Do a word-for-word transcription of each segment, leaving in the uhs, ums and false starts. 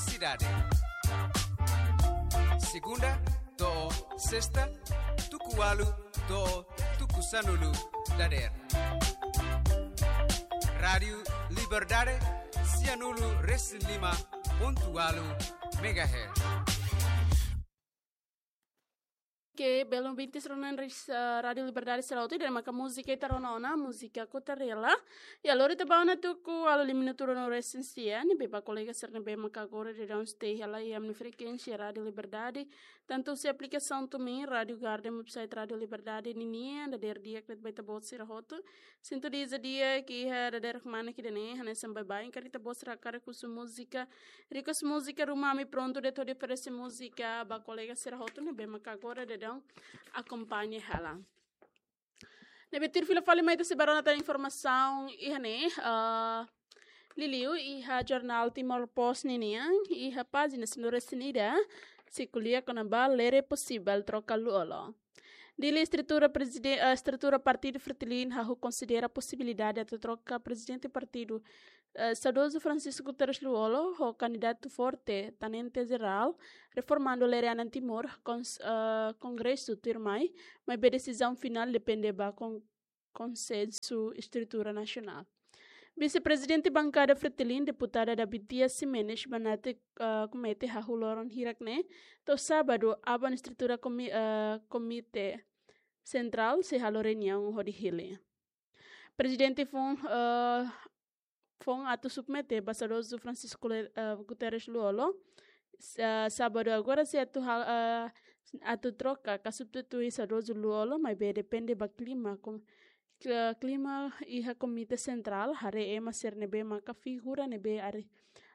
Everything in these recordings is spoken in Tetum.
sidade. Segunda to'o sesta, tuku ualu to'o tuku sanulu dadeer. Rádiu Liberdade, sianulu resin lima pontu ualu megahertz. Oke, belun bintis rona ris, eh, Rádiu Liberdade sira hotu, ida-ne'e maka múzika ita rona ona, múzika Kota Rela. Ya, lori ita ba ona tuku ualu lima minutu rona resin sia, ne'ebé ba kolega sira ne'ebé maka agora daudaun stay hela iha ami-nia frekuénsia Rádiu Liberdade. Tantu husi aplikasaun TuneIn, Rádiu Garden, website Rádiu Liberdade ninian, dadeer di'ak de'it ba ita-boot sira hotu. Sinto di'ak katak iha dadeer kmanek ida-ne'e, hanesan baibain karik ita-boot sira hakarak husu múzika, request múzika, ruma ami prontu de'it hodi oferese múzika ba kolega sira hotu ne'ebé maka agora daudaun akompaña hela. Ne'ebé tuir fila fali mai ita sei bá rona tan informasaun iha ne'e, ah, liuliu iha jornál Timor Post ninian, iha pájina sanulu resin ida, sei ko'alia kona-ba lere posivel troka Lú-Olo. Dili, estrutura prezide-, eh, estrutura partidu Fretilin hahú konsidera posibilidade atu troka prezidente partidu, eh, saudozu Francisco Guterres Lú-Olo ho kandidatu forte, tenente-jerál, Reformando Lere Anan Timor, kons-, eh, kongresu tuirmai, maibé desizaun finál depende ba kon-, konsensu estrutura nasionál. Vise-prezidente bankada Fretilin, deputada David Dias Ximenes, banati, eh, komete hahú loron hirak ne'e, to'o sábadu, aban estrutura komi-, eh, komité sentrál sei halo reuniaun hodi hili. Prezidente foun, eh, foun atu submete ba saudozu Francisco Le-, eh, Guterres Lú-Olo, s-, eh, sábadu agora sei atu hal-, eh, atu troka ka substitui saudozu Lú-Olo, maibé depende ba klima, kom-, kla-, klima iha komité sentrál, haree ema sira ne'ebé maka figura ne'ebé ari-,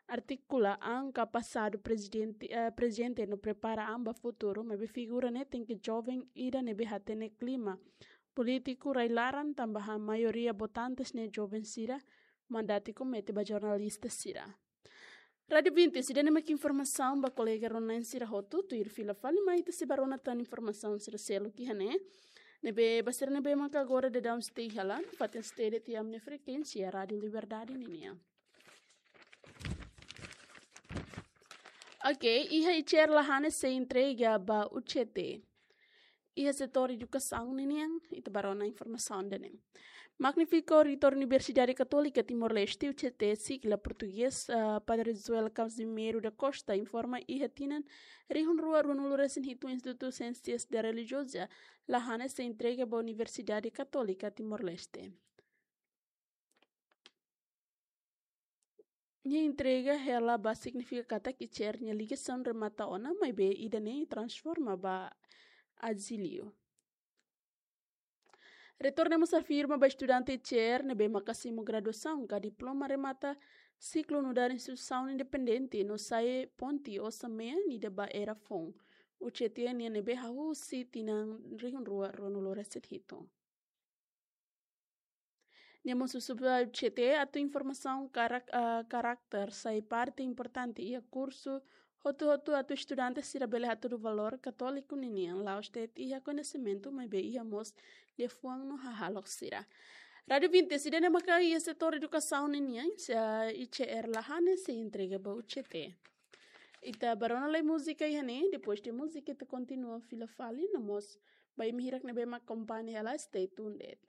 artikula an ka pasadu prezidente, eh, prezente no prepara an ba futuru, maibé figura ne'e tenke joven ida ne'ebé hatene klima polítiku rai-laran, tanba maioria votantes ne'e joven sira, mandati komete ba jornalista sira. Rádiu Vinti, ida-ne'e mak informasaun ba kolega rona-na'in sira hotu, tuir fila fali mai ita sei bá rona tan informasaun sira seluk iha ne'e. Ne'ebé ba sira ne'ebé maka agora daudaun stay hela, fatin stay de'it iha ami-nia frekuénsia Rádiu Liberdade ninian. Oke, iha I C R la hanesan entrega ba U C T. Iha setór edukasaun ninian, ita bá rona informasaun ida-ne'e. Magnífiku Reitór Universidade Katólika Timor-Leste, U C T, sigla portugés, ah, Padre Joel Casimiro da Costa, informa iha tinan rihun rua ruanulu resin hitu Institutu Siénsias Relijioza la hanesan entrega ba Universidade Katólika Timor-Leste. Nia entrega hela ba signifika katak I C R nia ligasaun remata ona, maibé ida-ne'e transforma ba azíliu. Reitór ne'e mós afirma ba estudante I C R ne'ebé maka simu graduasaun ka diploma remata siklu nu'udar instituisaun independente no sai ponte osan-mean ida ba era foun U C T nian ne'ebé hahú husi tinan rihun rua ruanulu resin hitu. Nia mós husu ba U C T atu informasaun karak-, ah, karakter sai parte importante iha kursu hotu-hotu atu estudante sira bele hatudu valór katóliku ninian, la'ós de'it iha koñesimentu, maibé iha mós liafuan no hahalok sira. Rádiu Vinti, ida-ne'e maka iha setór edukasaun ninian, se, ah, I C R la hanesan entrega ba U C T. Ita bá rona lai múzika iha ne'e, depois de múzika ita kontinua fila fali, no mós ba imi hirak ne'ebé mak akompaña hela, stay tuned.